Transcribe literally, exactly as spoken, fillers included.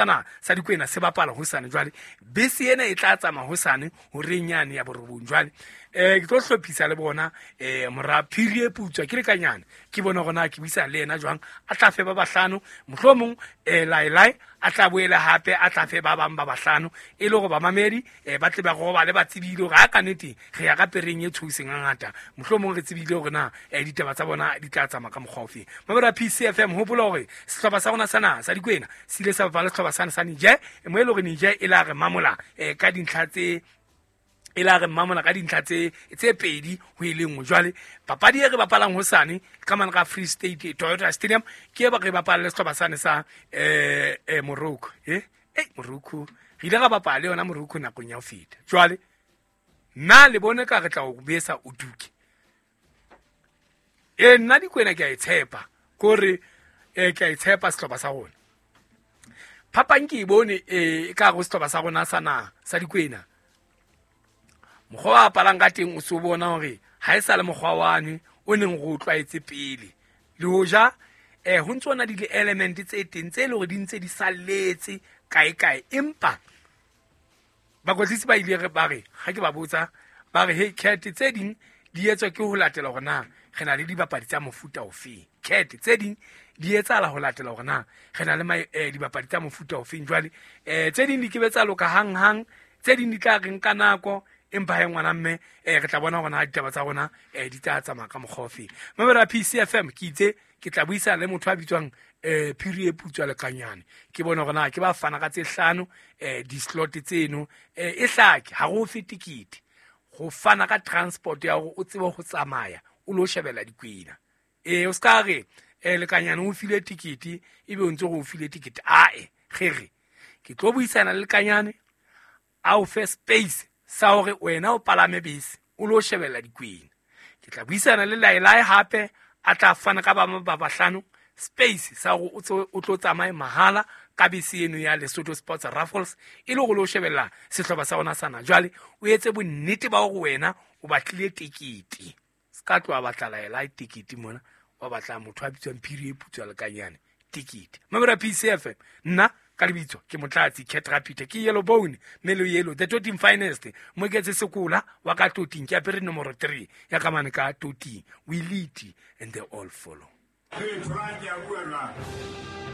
Sana sa Dikwena se bapala hosane. Jwale bese ena e tla tsamaya hosane horeng yane ya borobong. Jwale um ke tlo hlophisa le bona um mora Phiri e Putswa ke lekanyane, ke bone hore na ke buisana le yena jwang, a tla fe ba bahlano, mohlomong um laelae a tla boele hape a tla fe ba bang ba bahlano, e le hore bamamedi um ba tle ba robale ba tsebile hore ha ka nnete re ya ka pereng e tshoseng hangata, mohlomong re tsebile hore na um ditaba tsa bona di tla tsamaya ka mokgwa ofeng. Mamedi wa P C F M, hopola hore sehlopha sa rona sa naha sa Dikwena se ile sa bapala le sehlopha sane sa Niger, mo e le hore Niger e la re mamola um ka dintlha tse e la re mamola ka dintlha tse tse pedi ho e le nngwe. Jwale papadi e re bapalang hosane ka mane ka Free State Toyota Stadium ke e ba re bapala le sehlopha sane sa eh eh Morocco. eh eh Morocco re ile ra bapala le yona Morocco nakong ya ho feta. Jwale nna le bone ka re tla o besa o duke. E nna Dikwena ke a e tshepa, kore eh ke a e tshepa sehlopha sa rona. Phapang ke e bone eh ka go sehlopha sa rona sa naha sa Dikwena, mokgwa wa apalang ka teng o so bona hore ha e sa le mokgwa wane o neng re o tlwaetse pele. Le hoja eh ho ntso na di element tse teng tse le hore di ntse di salletse kae kae, empa bakwetlisi ba ile re ba re ha ke ba botsa ba re hey cat tse ding di etswa ke ho latela hore na re na le dibapadi tsa mofuta ofeng, cat tse ding di etsahala ho latela hore na re na le ma, eh, dibapadi tsa mofuta ofeng. Jwale eh tse ding di ke be tsa loka hang hang, tse ding di tla re nka nako, empa ha ngwana mme eh re tla bona hore na ditaba tsa rona eh di tla tsamaya ka mokgwa ofeng. Mamedi wa P C F M, ke itse ke tla buisana le motho a bitswang eh Phiri e Putswa Lekanyane, ke bone hore na ke ba fana ka tse hlano eh di-slot tseno eh e hlake ha re o fe tikete go fana ka transport ya hore o tsebe ho tsamaya o lo shebella Dikwena. Eh o ska re eh Lekanyane o file tikete ebe o ntse go o file tikete, ae ge re ke tlo buisana le Lekanyane a o fe space sa hore wena o palame bese o lo shebella Dikwena. Ke tla buisana le Laelae hape a tla fana ka ba ba bahlano space sa hore o tso o tlo tsamaye mahala ka bese eno ya Lesotho Sports Raffles e le hore lo shebella sehlopha sa rona sana. Jwale o etse bonnete ba hore wena o batlile tekete, se ka tloha batla Laelae tekete mona, wa batla motho a bitswang Phiri e Putswa Lekanyane tekete. Mamedi wa P C F M, nna ka lebitso ke Motlatsi Cat Rapita, ke Yellow Bone Melo Yellow the Toting Finest, Moeketse Sekola wa ka Toting, ke apere nomoro three ya ka mane ka Toting. We lead and they all follow. Hey, Brian, ya bua jwang?